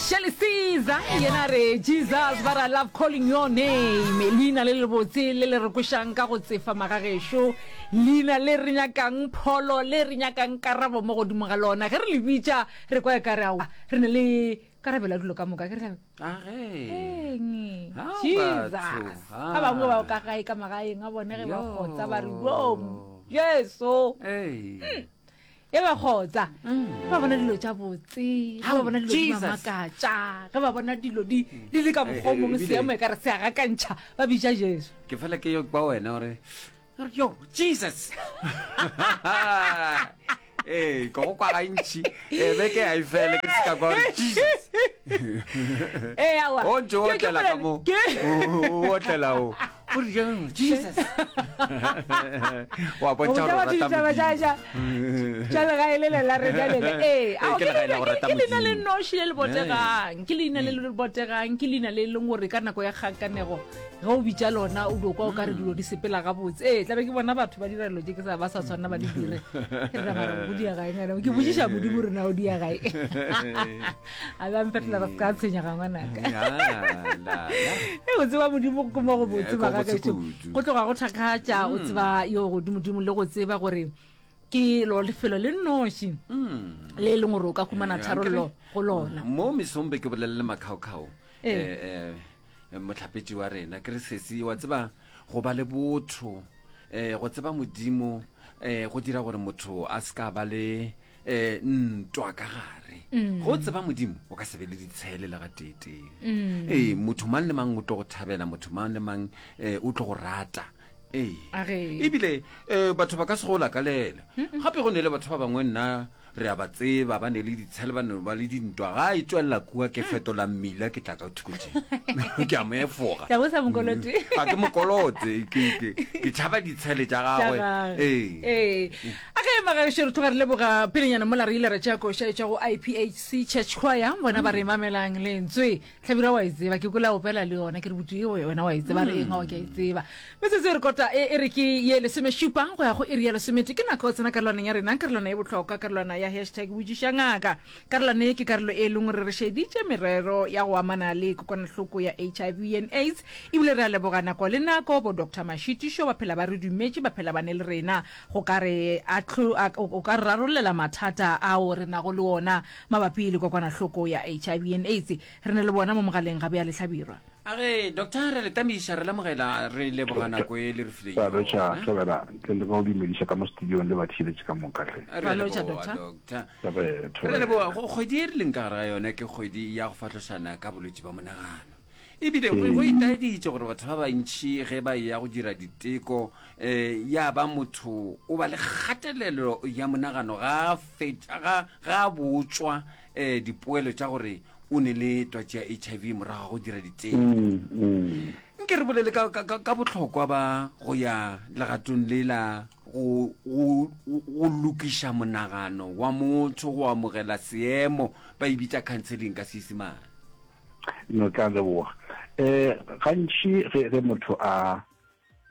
Shirley Caesar yena re Jesus but I love calling your name leina le lebotse le le re kwešang ka go tsefa magagešo leina le re nyakang pholo le re nyakang karabo mo godimo ga lona ge re le bitša re kwa e ka re aowa re ne le karabelo ya dilo ka moka ke re Eng? Jesus ba bangwe ba ka gae ka magaeng a bone ge ba kgotsa ba re yo Jesu e ba kgotsa mm. ba bona dilo tša botse ge ba bona dilo di ba makatša ge ba bona dilo di di le ka mokgwa o mongwe seemo e ka re se a gakantšha ba bitša jesu ke fela ke yo kwa wena gore yo jesus ee ko go kwa gantši ee beke a e fele ke se ka kwa gore jesus ee awa o ntse o otlela ka mo o otlela o o re jang jesus wa bontšha gore o rata ditaba tša tša tša legae le le la rena le le ee Ee, ke legae la go rata ke leina le Modimo. noši le le botegang ke leina le le botegang ke leina le e leng gore ka nako ya kgakanego ge o bitša lona o dio kwa o ka re dilo di sepela gabotse ee tlabe ke bona batho ba dira dilo tše ke sa ba sa tshwanela ba di dire ke re mara go dia gae ngwana ke botšiša modimo re na o dia gae a ba mfetola re se ka tshwenyega ngwanaka e go tseba modimo ke mo go botse Eh, ko botse bagagešo kudu. go tloga go thakgatša o tseba yo godimodimo le go tseba gore ke lo lefelo le nnoši le e leng gore o ka humana Eh, tharollo akere? go lona mo mesong be ke bolelele makhaokhao Ee. um mohlapetši wa rena ke re sesi wa tseba go ba le botho um go tseba modimo um go dira gore motho a se ka ba le um ntwa ka gare mm. go tseba modimo o ka se be le ditshele le gateetee mm. ee motho mang le mang o tlo go thabela motho mang le mang um o tlo go rata ee ebile um batho ba ka se go lakalela gape go ne le batho ba bangwe nna Re a ba tseba, ba ne le ditshele, ba ne ba le dintwa. Ga e tšwelela kua, ke fetola mmila, ke tla ka thoko tše. Ke a mo efoga. Tla bo sa mokolote. Ga ke mokolote, ke, ke, ke tšhaba ditshele tša gagwe. Ee. Ee. A ge magaešo re tloga re leboga pelenyana mola re ile ra tšea koša e tšwa go IPHC Church Choir, bona ba re mamelang lentswe. Hlabirwa wa e tseba, ke kwele a opela le yona, ke re botse eo wena wa e tseba, re eng ao ke a e tseba. Metsotso e re kota e, e re ke ye lesomešupa go ya go iri ya lesomete, ke nako tsena karolwaneng ya rena, karolwana e bohlokwa, karolwana ya hashtag botšiša ngaka. Karolwana ye ke karolo e leng gore re šeditše merero ya go amana le kokwanahloko ya HIV and AIDS, ebile re a leboga nako le nako bo Doctor Mashitišo ba phela ba re dumetše, ba phela ba ne le rena go ka re o ka re rarollela mathata ao re nago le ona Mabapi le kokwanahloko ya HIV and AIDS, re ne le bona mo mogaleng ga bjale Hlabirwa. A re, Doctor, re le tamiša, re lamogela, re leboga nako e le re fileng Ra lotšha, yona. Thobela, ntle le go dumediša ka mo studiong le batheeletši ka moka hle. Re Ra a lotšha, leboga, Doctor. Doctor. Re, Re a Thobela. leboga. Go- Kgwedi e re leng ka gare ga yona ke kgwedi ya go fahlošana ka bolwetši bja monagano. Ebile go go itaeditše gore batho ba bantši ge ba eya go dira diteko um ya ba motho o ba le kgatelelo ya monagano ga a fetša ga ga a botšwa um dipoelo tša gore o ne le twatši ya HIV morago ga go dira diteko. Nke re bolele ka, ka, ka, ka bohlokwa ba go ya legatong le la go, go, go lokiša monagano wa motho go amogela seemo, ba e bitša counseling ka Seisemane. No tla leboga. Eh gantši ge ge motho a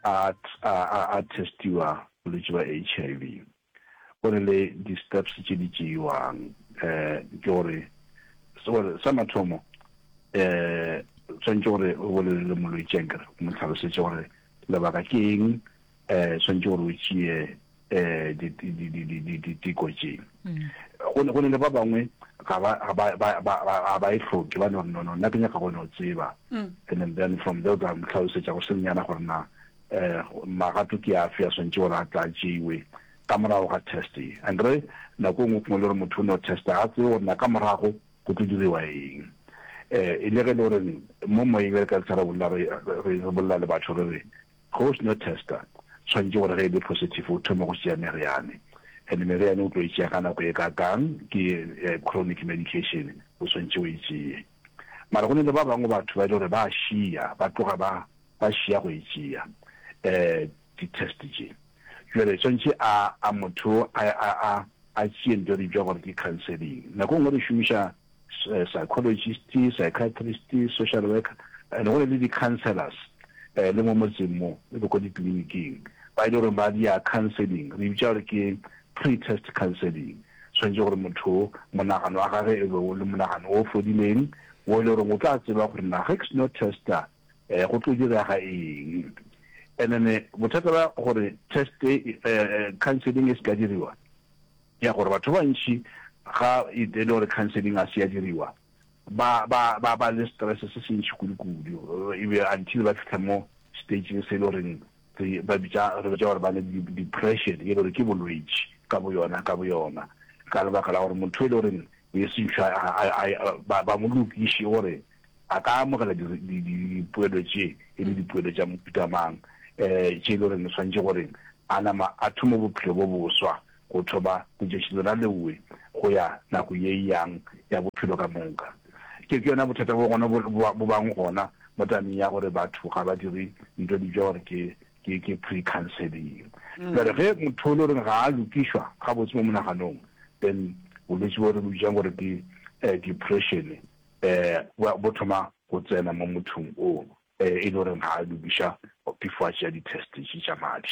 a a a testiwa bolwetši ba HIV go ne le di steps tše di tšeiwang eh ke gore gore sa mathomo eh tshwanetse gore o bolele le molwetši ankere o mo tlhalosetše gore lebaka ke eng eh tshwanetse gore o tšee eh diteko tše go ne go ne le ba bangwe ga ba ga ba ba ba ga ba e hloke ba no no no nna ke nyaka go no tseba and then, then from there o tla mo tlhalosetša go senyana gore na eh magato ke afe a swantše gore a tla tšeiwe ka morago ga test ye and re nako e nngwe kngwe le gore motho o no testa ga tsebe gore na ka morago go tlo diriwa eng eh e le ge le gore mo moyeng re ka re bolela re re bolela le batho re re Ge o seno testa, tshwanetše gore ge e le positive o thome go tšea meriane. And meriane o tlo e tšea ka nako e kakang, ke chronic medication, o tshwanetše o e tšee. Mara go ne le ba bangwe batho ba e le gore ba šia, ba tloga ba ba šia go e tšea di-test tše. Jwale tshwanetše a a motho a a a a tšee ntho e re bitša gore ke counseling. Nako e nngwe re šomiša psychologist, psychiatrist, social worker and go ne le di-councellors eh, le mo motseng mo le ko ditleliniking ba e le gore ba dia counseling, re bitša gore ke pre-test counseling. Tshwanetše gore motho monagano wa gage e be o le monagano o fodileng, wo e le goreng o tla tseba gore na ge ke seno testa um go tlo direga eng. And then bothata bja gore test e, counseling e se ka diriwa, ya gore batho ba bantši ga e le gore counseling a se ya diriwa, ba ba ba ba le stress se se ntši kudu-kudu, e be until ba fihla mo stageng se e le goreng re ba bitša re bitša gore ba ne depression, e le gore ke bolwetši ka boyona ka boyona, ka lebaka la gore motho e le goreng e se ntšha ba ba mo lokiše gore a ka amogela dipoelo tše e le dipoelo tša mohuta mang, um tše e le goreng o swanetše gore a nama a thome bophelo bo boswa go thoma letšatši lona leowe go ya nako ye e yang ya bophelo ka moka. Ke ke yona bothata bo gona bo, bo bang gona mo tabeng ya gore batho ga ba dire ntho e bitšwa gore ke, ke, ke pre-counseling. Bjale ge motho o le goreng ga a lokišwa gabotse mo monaganong, then bolwetši bo re bo bitšang gore ke depression um bo thoma go tsena mo mothong o e le goreng ga a lokiša before a tšea di-test tše tša madi.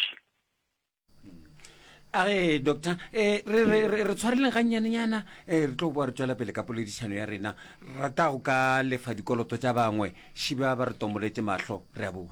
A re doctor eh, re re re re tshwareleng gannyanenyana eh, re tlo boa re tswela pele ka poledišano ya rena rata go ka lefa dikoloto tša bangwe šiba ba re tomoletše mahlo re a boa.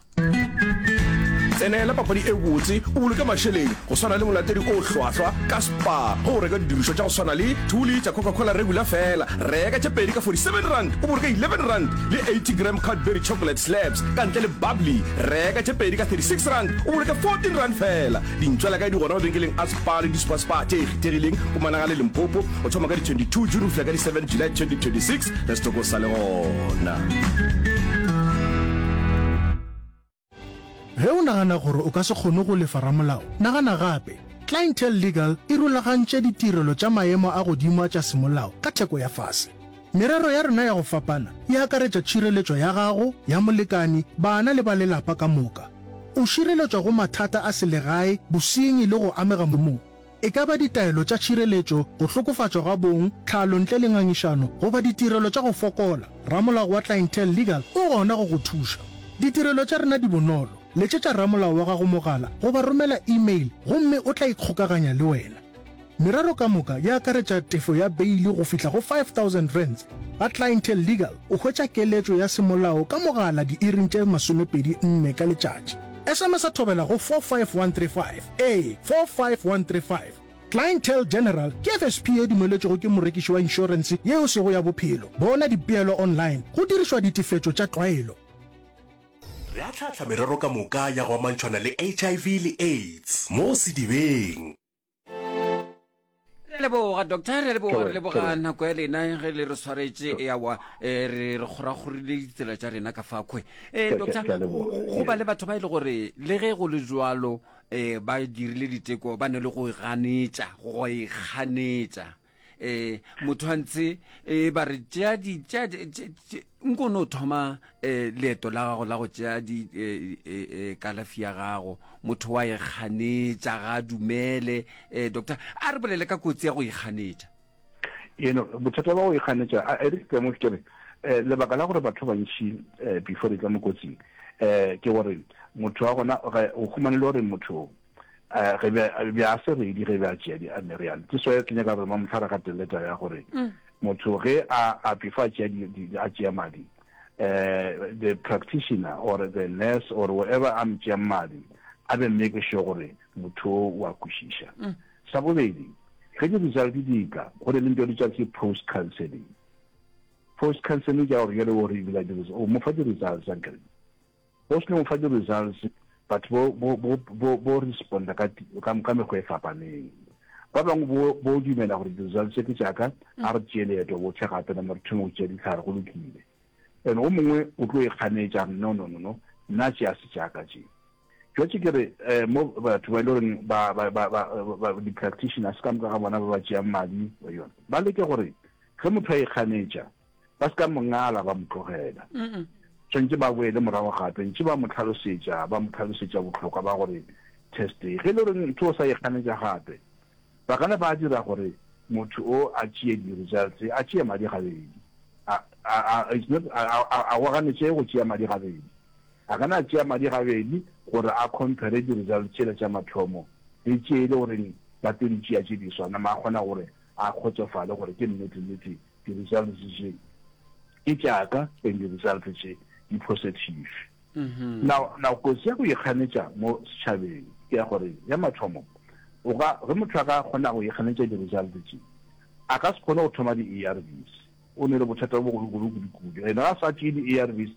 Tsenela papadi e botse o boloke mašeleng go swana le molatedi o hlwahlwa ka Spar ge o reka didirišwa tša go swana le 2 litre Coca-Cola regular fela reka tše pedi ka R47 o boloke R11 le 80 gram Cadbury chocolate slabs ka ntle le bubbly reka tše pedi ka R36 o boloke R14 fela. Dintšwela kae di gona mabenkeleng a Spar le di-Super Spar tše kgethegileng Mpumalanga le Limpopo go thoma ka di 22 June go fihla ka di 7 July 2026 ge setoko sa le gona. Ge o nagana gore o ka se kgone go lefa ramolao, nagana gape. Clientele Legal e rulagantše ditirelo tša maemo a godimo a tša semolao ka theko ya fase. Merero ya rena ya go fapana e akaretša tšhireletšo ya gago, ya molekani, bana le ba lelapa ka moka. O šireletšwa go mathata a selegae, bosenyi le go amega mošomong. E ka ba ditaelo tša tšhireletšo, go hlokofatšwa ga bong, tlhalo ntle le ngangišano goba ditirelo tša go fokola, ramolao wa Clientele Legal o gona go go thuša. Ditirelo tša rena di bonolo, letšetša ramolao wa gago mogala goba romela email gomme o tla ikgokaganya le wena. Merero ka moka e akaretša tefo ya beili go fihla go R5000. Ga Clientele Legal o hwetša keletšo ya semolao ka mogala diiring tše 24 ka letšatši. SMS-a thobela go 45135, ee, 45135. Clientele General ke FSP ye dumeletšwego ke morekiši wa inšorense ye e sego ya bophelo. Bona dipeelo online go dirišwa ditefetšo tša tlwaelo. Re ahlaahla merero ka moka ya go amantšhwana le HIV le AIDS mo sedibeng. Re a leboga doctor, re a leboga, re leboga nako ya lena ge le re swaretše eawa eh, re re kgorakgorile ditsela tša rena ka fakhwe. Eh, doctor, go ba le batho ba e le gore le ge go le jwalo eh, ba dirile diteko ba ne le go ganetša, go ikganetša. Eh, motho a ntse eh, ba re tšea di tšea nko no thoma eh, leeto la gago la go tšea di eh, eh, eh, kalafi ya gago motho wa e kganetša ga a dumele eh, doctor a re bolele ka kotsi ya go ikganetša. You know, bothata ba go ikganetša a e re ke mo ke re eh, lebaka la gore batho ba bantši eh, before di tla mo kotsing eh, ke gore motho wa gona o humane le gore motho eh, ge be a se ready ge be a tšea di-meriana. Ke so ke nyaka gore mamotlha re gatelele taba ya gore mm. motho ge a a before a tšea a tšea madi eh the practitioner or the nurse or whoever a mtšeang madi a be make sure gore motho o a kwešiša. Mm. Sa bobedi, ge di-result di tla, go ne le ntho e bitšwa ke post counseling. Post counseling ke ya gore jale o re ebile o mo fa di-results ankere. Go se no fa di-results, batho bo, bo, bo, bo, bo responda ka, ka, ka mekgwa e fapaneng. Ba bangwe bo, bo dumela gore di-results tše ke tša ka, a re tšee leeto bohle gape nama re thome go tšea dihlare, go lokile. And o mongwe o tlo ikganetša, a re, no, no, no, no, nna tše a se tša ka tše. Jwatše ke re, eh, mo batho ba e le goreng ba, ba, ba, ba, ba, di-practitioners ka moka ga bona ba ba tšeang madi ba yona, ba leke gore ge motho a ikganetša, Ba se ka mo ngala ba mo tlogela. Tshwanetše ba boele morago gape ntše ba mo tlhalosetša, ba mo tlhalosetša bohlokwa ba gore test e. Ge e le gore ntho o sa e ganetša gape, ba ka na ba dira gore motho o a tšee di-results, a tšee madi gabedi. A, a, a, it's not, a, a, a go ganetše go tšea madi gabedi. A ka na a tšea madi gabedi gore a compare di-results tšela tša mathomo le tše e le goreng ba tlo di tšea tše diswa, nama a kgona gore. a kgotsofale gore ke nnete nnete di-results tše ke tša ka and di-results tše di positive. Now, now kotsi ya go ikganetša mo setšhabeng ke ya gore ya mathomo o ka ge motho a ka kgona go ikganetša di-results tše a ka se kgone go thoma di-A_R_Vs. O ne le bothata bo bogolo kudu kudu. And ga a sa tšee di-A_R_Vs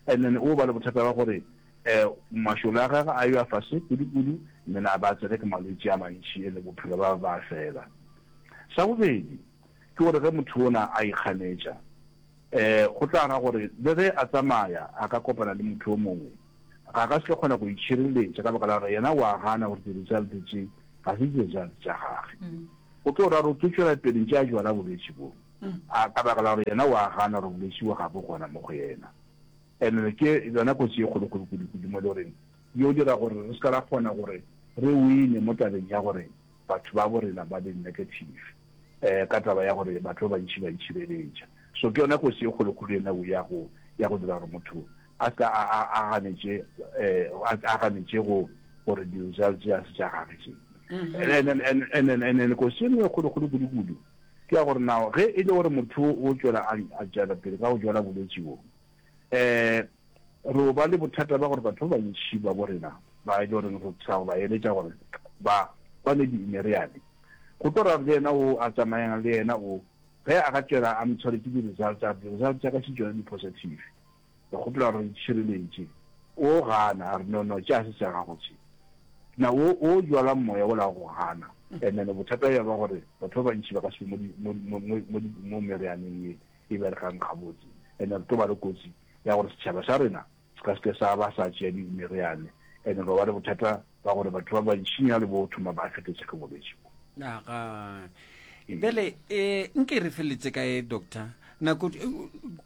and then o ba le bothata ba gore um mašole a gagwe a yo a fase kudu kudu and then a ba tsene ke malwetši a mantši and bophelo ba ba fela. Sa bobedi ke gore ge motho ona a ikganetša um go tla ra gore le ge a tsamaya a ka kopana le motho o mongwe ga ka se tlo kgona go itšhireletša ka baka la gore yena o a gana gore di-result tše ga se di-result tša gage. Go tlo ra gore o tlo tšwela pele ntše a jwala bolwetši bo a ka baka la gore yena o a gana gore bolwetši bo ga bo gona mo go yena. And ke yona kotsi e kgolokgolo kudu-kudu mo e le goreng yo dira gore re se ka ra kgona gore re wine mo tabeng ya gore batho ba bo rena ba be negative um ka taba ya gore batho ba bantši ba itšhireletša. So ke yona kotsi e kgolokgolo ena ya go ya go dira gore motho a se ka a a a ganetše um a ganetše go gore di-results tše a se tša gage tše. And then and and and and then kotsi e nngwe e kgolokgolo kudu-kudu ke ya gore now ge e le gore motho o tšwela a a tšwela pele ka go jwala bolwetši bo um re ba le bothata ba gore batho ba bantši ba bo rena ba e le goreng re sa go ba eletša gore ba ba nwe di-meriane go tlo ra le yena o a tsamayang le yena o ge a ka tšwela a mo tshwaretše di-result tsa di-result tša ka še tšona di-positive re kgopela gore re itšhireletše o gana a re no no tše a se tša gago tše na o o jwala moya ola go gana and then bothata ya ba gore batho ba bantši ba ka se be mo mo mo mo mo merianeng ye e berekang gabotse and re tlo ba le kotsi ya gore setšhaba sa rena se ka se ke sa ba sa tšea meriane and re ba le bothata ba gore batho ba bantšinyana le bo thoma ba fetetse ke bolwetši bo. Aga. Bjale eh nke re feletse kae doctor? Nako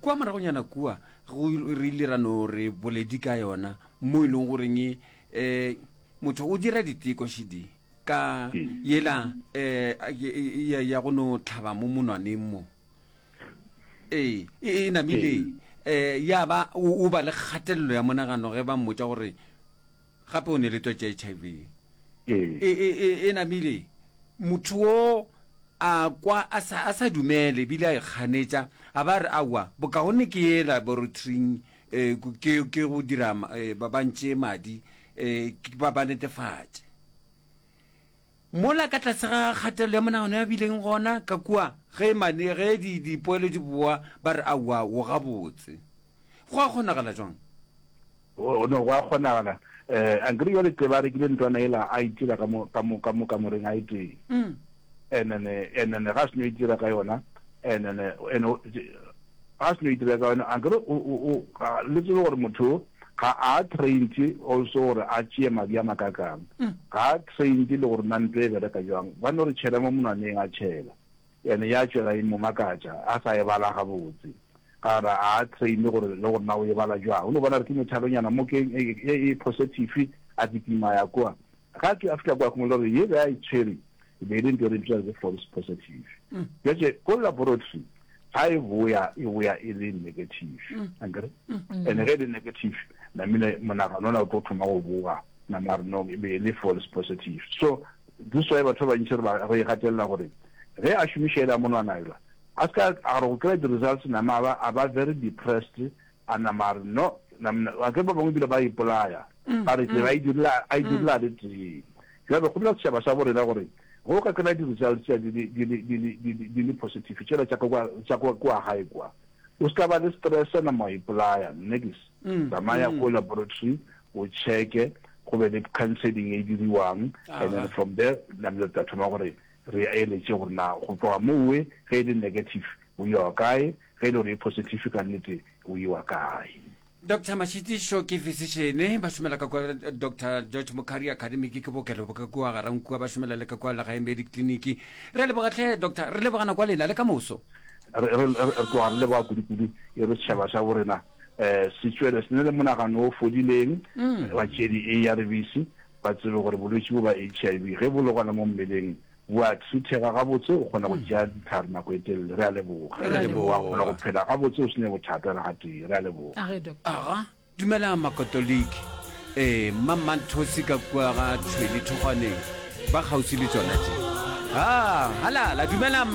kua moragonyana kua go re ile ra no re boledi ka yona mo e leng goreng eh motho o dira diteko šidi ka yela eh ya go no tlhaba mo monwaneng mo. Ee, e, e namile eh ya ba o ba le kgatelelo ya monagano ge ba mmotša gore gape o ne le twatši ya HIV. E, e, e, e namile motho wo a kwa a sa, a sa dumele ebile a ikganetša a ba re aowa bokaone ke ye laboratoring eh, ke, ke go dira eh, ba ba ntšee madi eh, ba ba netefatše. Mola ka tlase ga kgatelelo ya monagano ya bileng gona ka kua, ge mane, ge di, dipoelo di boa, ba re, Aowa, o gabotse. Go a kgonagala jwang? O, no, go a kgonagala. Eh, ankere jwale tle ba rekile ntlwana yela, a itira ka mo, ka mo, ka mo kamoreng a e tee. And then, and then ga a seno itira ka yona, and then, and o, ga a seno itira ka yona, ankere o, o, o, ga, le tsebe gore motho ga a trained also gore a tšee madi a makakang. Ga a trained le gore na ntlo e bereka jwang. Ba no re tšhela mo monwaneng a tšhela. Ene ya tšwela e mo makatša a sa e bala gabotse. Ka gore a a trained gore le gore na o e bala jwang. O no bona re ke methalonyana mo ke e e positive a kitima ya kwa. Ga a fihla kwa khumolo gore ye be a e tshwere e be e le ntho e re bitsa ke false positive. Bjale ko laboratory ga e boya e boya e le negative. Ankere? And ge e le negative namile monagano ona o tlo thoma go boga nama re no e be e le false positive. So this why batho ba bantši re ba re e gatelela gore ge a šomiša ela monwana ela a se ka a re go kry-a di-results nama a ba a ba very depressed a nama a re no a ke ba bangwe ebile ba ipolaya ba re tsela a e direla a e direla a le tee. Bjale kgopela setšhaba sa bo rena gore ge o ka kry-a di-results tša di le di le di le di le di le positive tšela tša ka kwa tša kwa kwa gae kwa o se ka ba le stress nama wa ipolaya nix tsamaya ko laboratory o checke go be le counseling e diriwang and then from there namile re tla thoma gore re eletše gore na go tloga mowe ge e le negative o iwa kae ge e le gore e positive ka nnete o iwa kae. Doctor Mashitišo ke physician, ba šomela ka kua Doctor George Mukhari Academic ke bookelo bo ka kua Garankua, ba šomela le ka kua Legae Medic Clinic. Re a leboga hle Doctor, re leboga nako ya lena le ka moso. Re, re, re tloga re leboga kudu-kudu e re setšhaba sa borena um se tšwele se ne le monagano o fodileng, ba tšee di-ARVs, ba tsebe gore bolwetši bo ba HIV ge bo le gona mo mmeleng bo a treatega gabotse, o kgona go tšea dihlare nako e telele. Re a leboga. Re a leboga. Wa kgona go phela gabotse o se ne bothata le gatee. Re a leboga. A ge, Doctor. Aga, dumelang Makatoliki. Ee, Mmammanthosi ka kua ga Tshwele Thokgwaneng, ba kgauswi le tšona tše. Ha, halala, dumelang.